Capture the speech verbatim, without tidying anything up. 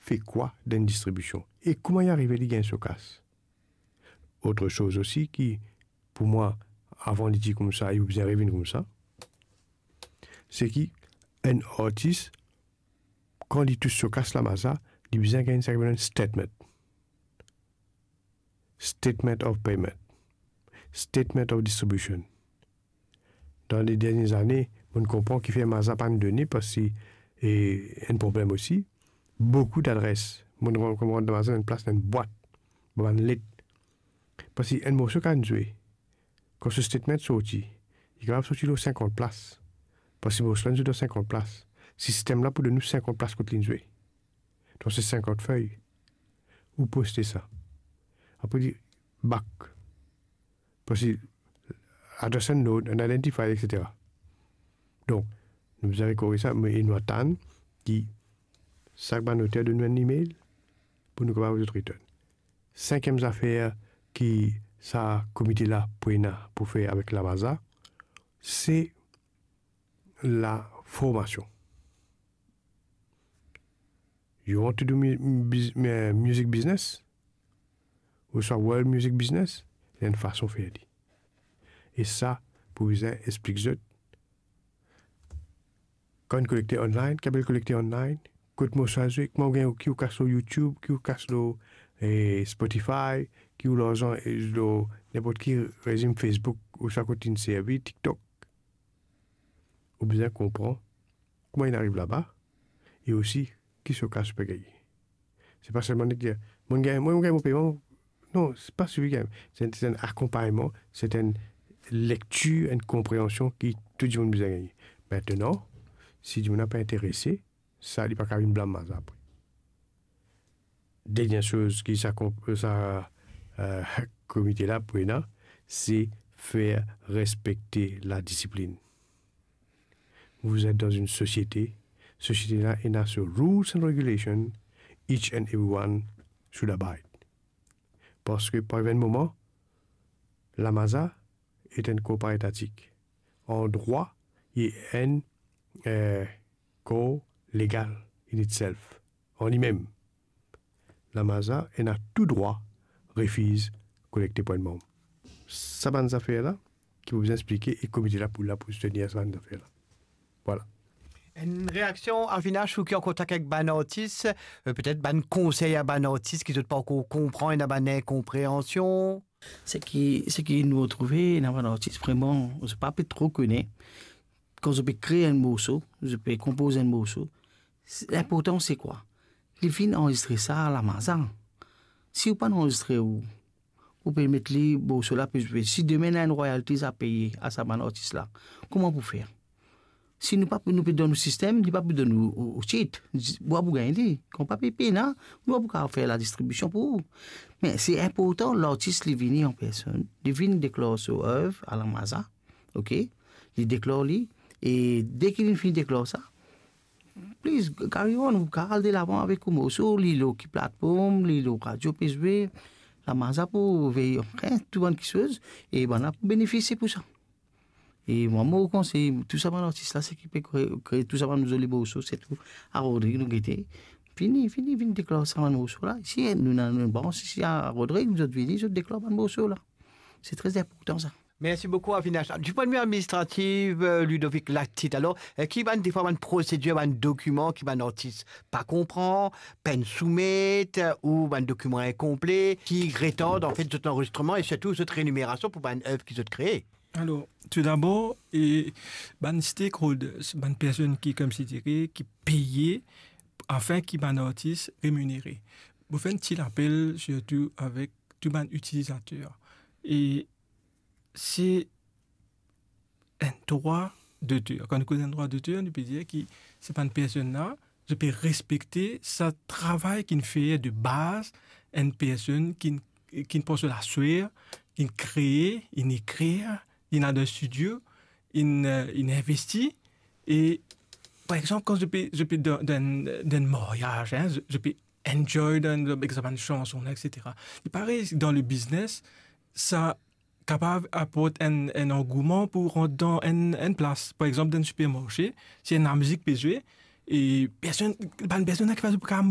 fer kwa dan enn distribision e kouma li arive li gagn so kas. Otre soz osi ki, pou mwa, avan li dir koumsa, li bizin revinn koumsa, se ki enn artis, kan li tous so kas Lamaza, li bizin gagn sa ki apel enn statement. Statement of payment. Statement of distribution. Dan le dernie zane, mo'nn konpran kifer Maza pa'nn done, parski, e, enn problem osi, boukou ladres. Mo'nn rann, kouma rann dan Maza, enn plas, enn bwat, bann let. Parski enn morso kan zwe, kan so statement sorti, li kapav sorti lor sinkant plas. Parski morso la inn zwe dan sinkant plas. Sistem la pou donn ou sinkant plas kot li'nn zwe. Donk se sinkant fey. Ou poste sa. Apre li back. Parski address unknown, unidentified, et cetera. Donk, nou bizin korij sa, me nou atann ki sak bann oter donn nou enn email pou nou kapav zot return. Sinkiem zafer ki sa komite la pou ena pou fer avek Lamaza, se laformasion. You want to do mu-, biz-, eh, music business? Ouswa world music business? Ena enn fason fer li. E sa, pou bizin explik zot, kan kolekte online, ki apel kolekte online, kot morso la zwe, kouma ou gagn, ki ou kas lor YouTube, ki ou kas lor, eh, Spotify, ki ou larzan, eh, lor ninport ki rezim Facebook, ouswa kot inn servi, TikTok. Ou bizin konpran kouma inn ariv laba, e osi ki so kas ou pe gagne. Se pa selman dir, mo gagn, mo gagn mo peyman. Non, se pa sifi gagn. Se enn, se enn akonpagnman, se enn lektir, enn konpreansion ki tou dimoun bizin gagne. Aster, si dimoun la pa interese, sa, li pa kapav vinn blam Maza apre. Dernie soz ki sa konp-, sa, eh, komite la pou ena, se fer respekte ladisiplin. Vous êtes dans une société, sosiete la ena so rules and regulation, each and everyone should abide. Parski pou ariv enn moman, Lamaza est un corps paritatif. An drwa, li enn, eh, kor legal in itself, an limem. Lamaza ena tou drwa refiz kolekte pwin manm. Sa bann zafer la, ki pou bizin explike, e komite la pou la pou soutenir sa bann zafer la. Vwala. Enn reaksion, Avinash, ou ki an kontak ek bann artis, eh, petet bann konsey a bann artis ki zot pa ankor konpran, ena bann inkonpreansion? Seki, seki nou trouve, ena bann artis, vreman, zot pa pe tro kone. Kan zot pe kre enn morso, zot pe konpoz enn morso, se, linportan se kwa? Li finn anrezistre sa Lamaza. Si ou pa'nn anrezistre ou, ou pe met li, morso la pe zwe. Si demin ena enn royalties a peye a sa bann artis la, kouma pou fer? Si nou pa, nou pe donn ou sistem, li pa pou donn ou, ou, ou tit. Ou pa pou gagn li. Kan pa pe pena, nou pa pou kapav fer ladistribision pou ou. Me se inportan, lartis li vini an personn, li vinn deklar so ev a Lamaza, ok? Li deklar li, e deki li finn deklar sa, please, carry on, ou kapav al delavan avek ou morso, li lor ki platform, li lor radio pe zwe, Lamaza pou vey, anfin, tou bann kiksoz, e bann la pou benefisie pou sa. E mwa, mo konsey tou sa bann artis la, seki pe kre, kre tou sa bann zoli morso, sirtou a Rodrig, nou gete. Fini, fini, vinn deklar sa bann morso la. Isi, nou ena, nou ena brans isi a Rodrig, zot vini, zot deklar bann morso la. Se tre inportan sa. Mersi boukou, Avinash. Di pwin de vi administratif, eh, Ludovic Latit, alor, eh, ki bann, defwa, bann prosedir, bann dokiman ki bann artis pa konpran, pa'nn soumet, eh, ou bann dokiman inkonple, ki retard, anfet, zot lanrezistreman e sirtou zot renimerasion pou bann ev ki zot kree? Alor, toudabor, e, bann stakeholders, bann personn ki, koumsi dire, ki peye, afin ki bann artis reminere. Mo fer enn ti lapel, sirtou avek tou bann itilizater. E se enn drwa doter. Kan nou koz enn drwa doter, nou pe dir ki se bann personn la, zot pe respekte sa travay ki'nn fer de baz, enn personn ki'nn, ki'nn pran so laswer, ki'nn kree, inn ekrir, inn al dan studio, inn, eh, inn investi. E, par exanp, kan zot pe, zot pe dan, dan, dan maryaz, hein, zot, zot pe enjoy dan, dan, ek sa bann sanson la, et cetera. E parey, dan le biznes, sa kapav aport enn, enn angouman pou rant dan enn, enn plas. Par exanp, dan enn sipermarse, si enn lamizik pe zwe, e personn, bann personn la ki pa zot pou kapav